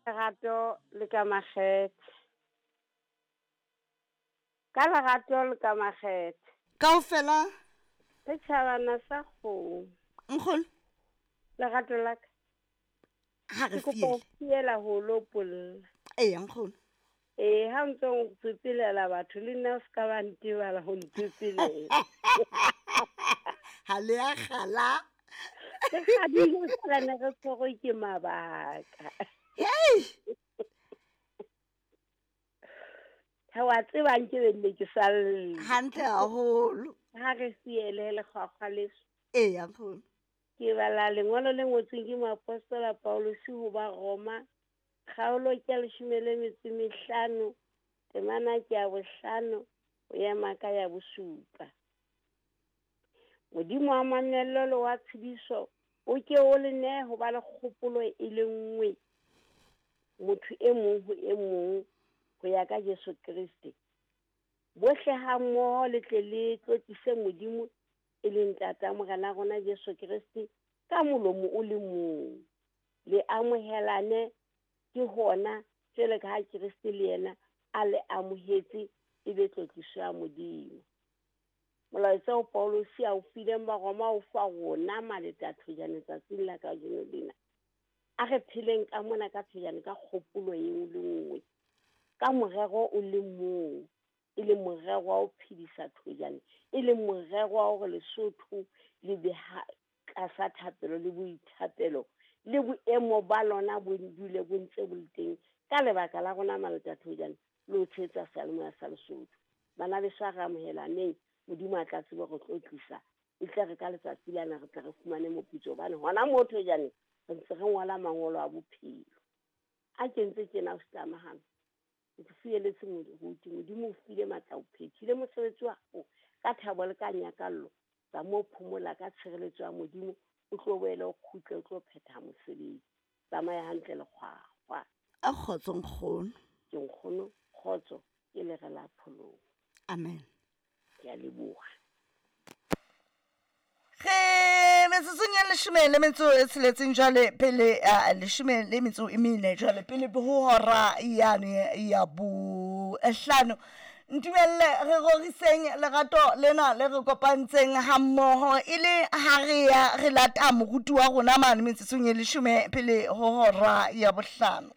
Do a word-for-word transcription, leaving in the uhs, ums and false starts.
Lerato le ka makgethe. Ka lerato le ka makgethe. Kaofela. Setjhabana sa kgomo. Nkgono. Lerato la ka. Ha re Ke kopa ho fiele. fiela ho lopolla. Eya nkgono. Ee, ha o ntso o tsotselela batho le nna o ska ba ntebala ho ntsetselela. Ha le a kgala. Re kgadile feela ne re tshwerwe ke mabaka. Hei! Ha wa tseba nke be nne ke sa lle. Hantle haholo. Ha re fiele lekgwakgwa leso. Eya nkgono. Ke bala lengolo le ngotsweng ke moapostola Paulus ho ba Roma, kgaolo ke ya leshome le metso e mehlano, temana ke ya bohlano, ho ema ka ya bosupa. Modimo wa mamello le wa tshediso o ke o le nehe ho ba le kgopolo e le nngwe, motho e mong ho e mong, ho ya ka Jesu Kreste. Bohle ha mmoho le tle le tlotlise Modimo e leng Ntata Morena rona Jesu Kreste ka molomo o le mong. Le amohelane ke hona jwalo ka ha Kreste le yena a le amohetse e be tlotliso ya Modimo. Molaetsa o Paulus a o fileng Baroma o fa rona maleta thojane tsatsing la kajeno lena. A re pheleng ka mona ka thojane ka kgopolo e nngwe le nngwe, ka morero o le mong, e le morero wa ho phedisa thojane, e le morero wa hore Lesotho le be ha tlasa thapelo le boithapelo le boemo ba lona bo dule bo ntse bo le teng ka lebaka la rona maleta thojane le ho tshehetsa seyalemoya sa Lesotho. Bana beso a re amohelaneng, Modimo a tla tsebe ho tlotlisa, e tle re ka letsatsi lena re tle re fumane moputso hobane hona moo thojane re ntse re ngola mangolo a bophelo. A ke ntse tjena o tlamahana. Ke fieletse moruti, Modimo o file matla o phethile mosebetsi wa hao ka thabo le ka nyakallo. Tsa mo phomola ka tshireletso ya Modimo, o tlo boele o kgutle o tlo phetha mosebetsi. Tsamaya hantle lekgwakgwa. A kgotso nkgono. Ke nkgono, kgotso ke lere la pholoho. Amen. Ke a leboha. Re metsotsong ya leshome le metso e tsheletseng jwale pele a leshome le metso e mene jwale pele ho hora yane ya bohlano. Ntumelle re roriseng lerato lena le re kopantseng ha mmoho e le ha re ya re lata moruti wa rona mane metsotsong e leshome pele ho hora ya bohlano.